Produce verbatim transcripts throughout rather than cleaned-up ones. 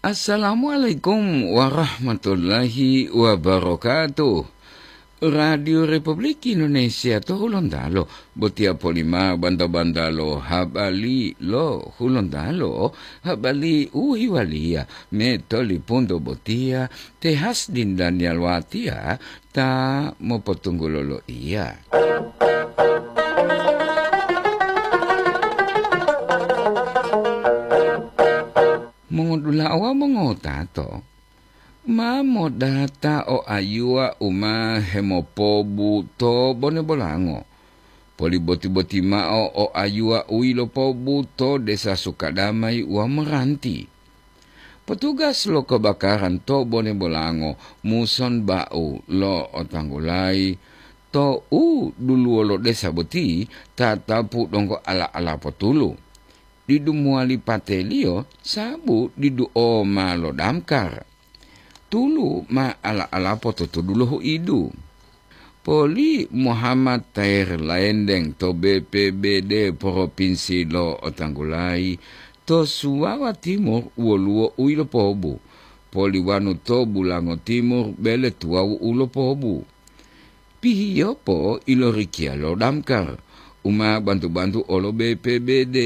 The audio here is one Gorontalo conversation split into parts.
Assalamualaikum warahmatullahi wabarakatuh. Radio Republik Indonesia to Hulontalo, botiya polima banta-banta lo habari lo Hulontalo, habari u hiwaliya me tolipunto botiya, te Hasdin Daniel Watiya ta mopotunggulo lo iya. Mongodula'a wawu mongotato, ma modata o ayuwa u ma hemopobu to bone bolango. Poliboti-boti mao o ayuwa u yilopobu to desa Sukadamai wawu Meranti. Petugas lo kebakaran to bone bolango muson bau lo otanggulayi to u duluwo lo desa boti tatapu donggo ala-ala potulu. Didu mowali pateliyo sabu didu o ma lo damkar. Tulu ma ala-ala pototudu lo huidu. Poli Muhammad Tair Laendeng to B P B D Propinsi lo Otanggulayi, to Suwawa Timur woluwo u yilopobu, poli wanu to Bulango Timur bele tuwawu u lopobu. Pihiyopo ilorikiya lo damkar, u ma bantu-bantu olo B P B D.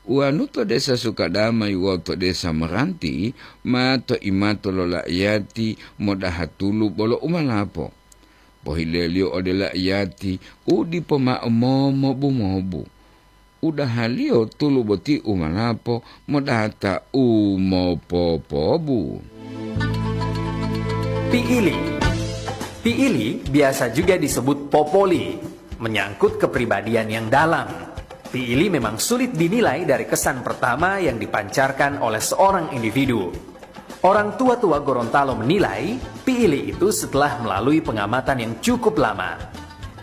Wanu to desa Sukadamai wawu to desa Meranti ma to imato lo laiyati modaha tulu bolo umalapo. Pohileliyo ode laiyati u dipo mao momobu-mobu. Udahaliyo tulu boti umalapo modata u mopopobu. Piili. Piili biasa juga disebut popoli, menyangkut kepribadian yang dalam. Piili memang sulit dinilai dari kesan pertama yang dipancarkan oleh seorang individu. Orang tua-tua Gorontalo menilai, piili itu setelah melalui pengamatan yang cukup lama.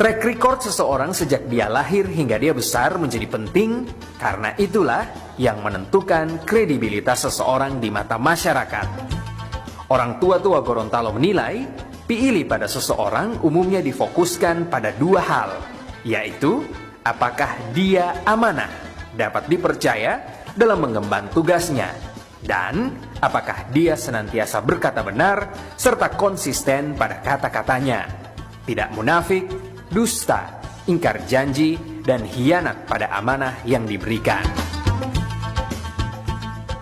Track record seseorang sejak dia lahir hingga dia besar menjadi penting, karena itulah yang menentukan kredibilitas seseorang di mata masyarakat. Orang tua-tua Gorontalo menilai, piili pada seseorang umumnya difokuskan pada dua hal, yaitu apakah dia amanah, dapat dipercaya dalam mengemban tugasnya, dan apakah dia senantiasa berkata benar serta konsisten pada kata-katanya, tidak munafik, dusta, ingkar janji, dan hianat pada amanah yang diberikan.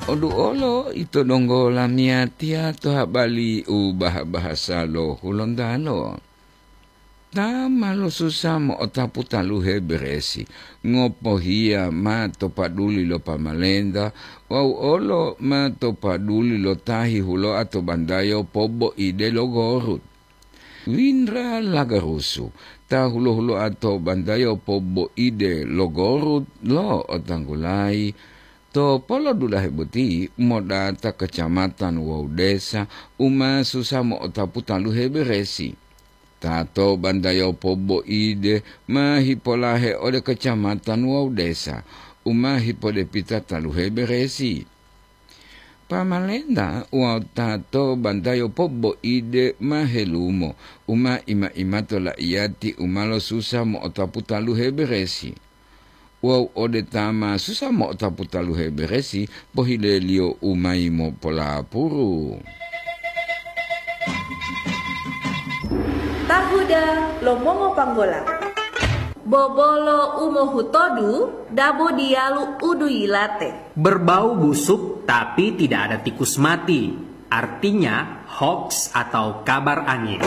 Odu olo ito donggo lamiyatiya to habari u baha-bahasa lo Hulontalo. Ta ma losusa mo'otapu taluhe beresi, ngopohiya ma to paduli lo pamalenta, wawu olo ma to paduli lo ta hihuloa to bandayo poboide lo Gorut. Windra Lagarusu, ta hulo-huloa to bandayo poboide lo Gorut lo otanggulayi, to polodulahe boti modata kecamatan wawu desa u ma susa mo'otapu taluhe beresi. Ta to bandayo poboide ma hipolahe ode kecamatan wawu desa u ma hipodepita taluhe beresi. Pamalenta wawu ta to bandayo poboide ma helumo u ma ima-imato laiyati u ma losusa mo'otapu taluhe beresi. Wawu ode ta ma susa mo'otapu taluhe beresi, pohileliyo u mayi mopolapuru. Tahuda lo mongopanggola. Bobolo u mohutodu dabo diyalu u duyilate. Berbau busuk tapi tidak ada tikus mati, artinya hoaks atau kabar angin.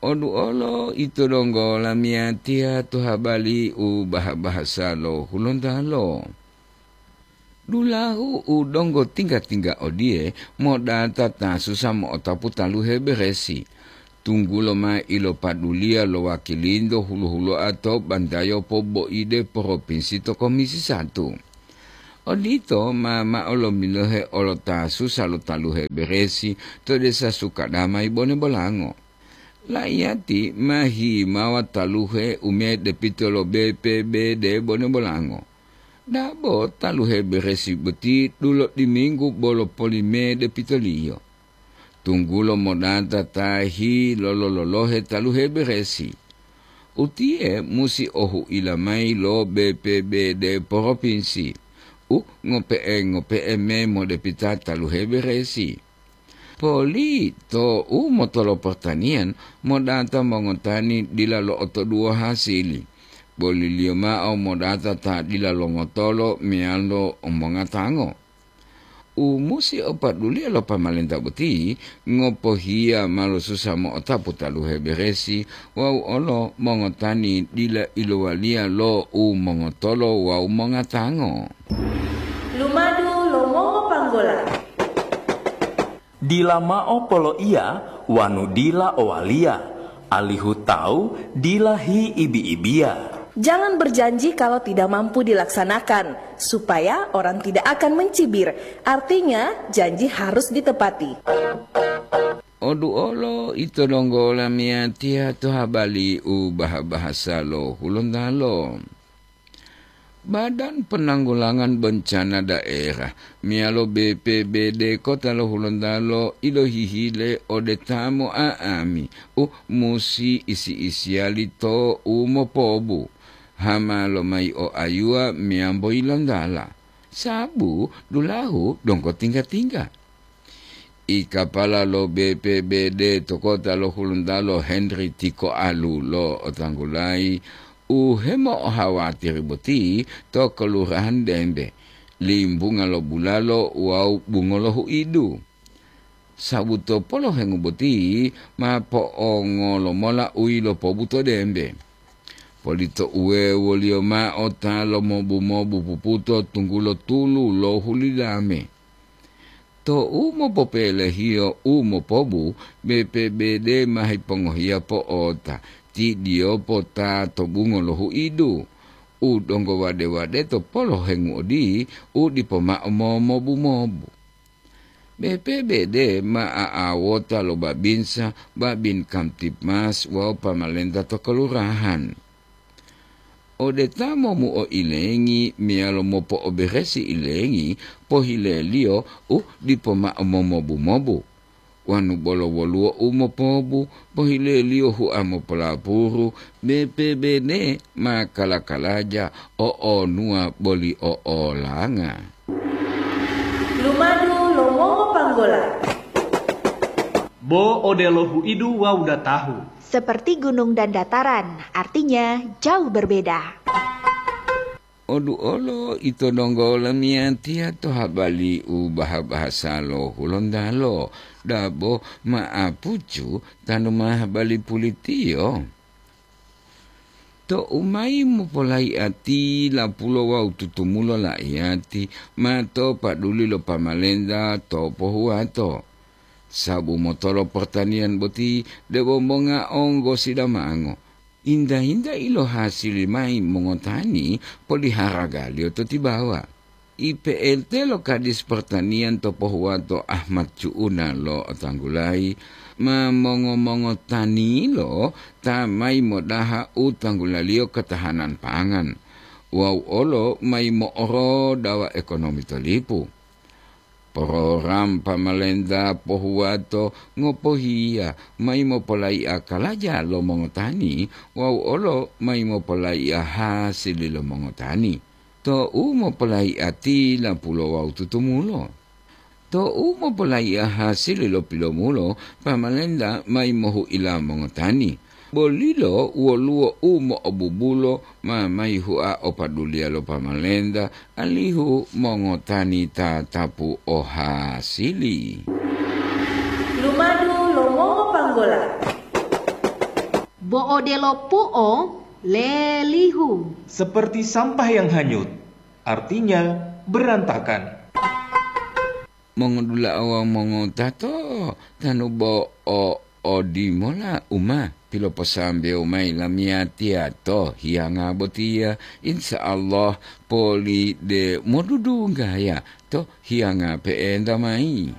Odu olo ito donggo lamiyatiya to habari u baha-bahasa lo Hulontalo. Dulahu u donggo tingga-tingga odiye modata ta susa mo'otapu taluhe beresi. Tunggulo ma ilopaduliya lo wakilinto hulo-huloa to bandayo poboide propinsi to Komisi Satu. Odito ma mao lomilohe olo ta susa lo taluhe beresi to desa Sukadamai Bone Bolango. Laiyati ma himawa taluhe u medepito lo B P B D Bone Bolango. Dabo taluhe beresi boti dulo diminggu bolo polimede pitoliyo. Tunggulo modata ta hilolo-lolohe taluhe beresi. Utiye musi ohuila mayi lo B P B D propinsi. u ngope'e-ngope'e memo depita taluhe beresi. Poli to u motolo pertanian modata mongotani dila lo'otoduwo hasili, boliliyo mao modata ta dila longotolo meyalo mongatango. U musi o paduliya lo pamalenta boti ngopohiya ma losusa mo'otapu taluhe beresi wawu olo mongotani dila ilowaliya lo u mongotolo wawu mongatango. Lumadu lo mongopanggola. Dila mao poloiya wanu dila owaliya, alihu tawu dila hiibi-ibiya. Jangan berjanji kalau tidak mampu dilaksanakan, supaya orang tidak akan mencibir. Artinya, janji harus ditepati. Oduolo ito donggo lamiyatiya to habali u baha-bahasa lo Hulontalo. Badan Penanggulangan Bencana Daerah meyalo B P B D Kota lo Hulontalo ilohihile ode ta mo'a'ami u musi isi-isiyali to u mopobu, hama lomayi o ayuwa meyambo yilontala, sabu dulahu donggo tingga-tingga. I kapala lo B P B D to kota lo Hulontalo Henry Tiko Alu lo otanggulayi u hemo'ohawatiri boti to Kelurahan Dembe, limbunga lo bulalo wawu bungo lo huidu. Sabu to polohengu boti ma po'ongolo mola u yilopobuto Dembe. Polito uwewoliyo mao ta lomobu-mobu puputo tunggulo tulu lo hulidame. To u mopopelehiyo u mopobu, B P B D ma hipongohiya po'ota, tidiyopo ta to bungo lo huidu, u donggo wade-wade to polohengu odi u dipo mao momobu-mobu. B P B D ma a'awota lo babinsa, babin Kamtibmas wawu pamalenta to kelurahan. Ode ta momuo ilengi meyalo mopo'oberesi ilengi, pohileliyo u dipo mao momobu-mobu. Wanu bolo woluwo u mopobu, pohileliyo hua mopolapuru, B P B D ma kala-kalaja o'onuwa boli o'olanga. Lumadu lo mongopanggola. Bo odelo huidu wawu datahu. Seperti gunung dan dataran, artinya jauh berbeda. Oduolo ito donggo lamiyatiya to habali u baha-bahasa lo Hulontalo, dabo ma'apucu tanu ma habali pulitiyo. To u mayi mopolaiati lapulo wawu tutumulo laiyati ma to paduli lo pamalenta to pohuwato. Sabu motolo portaniyan boti debo monga onggo sidamango. Inta-inta ilo hasili mayi mongotani poliharagaliyo to tibawa. I P L T lo Kadis Pertanian to pohuwato Ahmad Cu'una lo otanggulayi ma mongo-mongotanilo ta mayi modaha u tanggulaliyo ketahanan pangan wawu olo mayi mo'orodawa ekonomi to lipu. Program pamalenta pohuwato ngopohiya mayi mopolaiya kalaja lo mongotani wawu olo mayi mopolaiya hasili lo mongotani. To u mopolaiya tilapulo wawu tutumulo. To u mopolaiya hasili lo pilomulo, pamalenta mayi mohu'ila mongotani. Bolilo woluwo u mo'obubulo ma mayi hua o paduliya lo pamalenta, alihu mongotani tatapu o hasili. Lumadu lo mongopanggola. Bo odelo pu'o lelihu. Seperti sampah yang hanyut, artinya berantakan. Mongodula'a wawu mongotato, tanu bo o odimola u ma piloposambewo mayi lamiyatiya to hiyanga botiya, insya Allah poli de modudunggaya to hiyanga pe'enta mayi.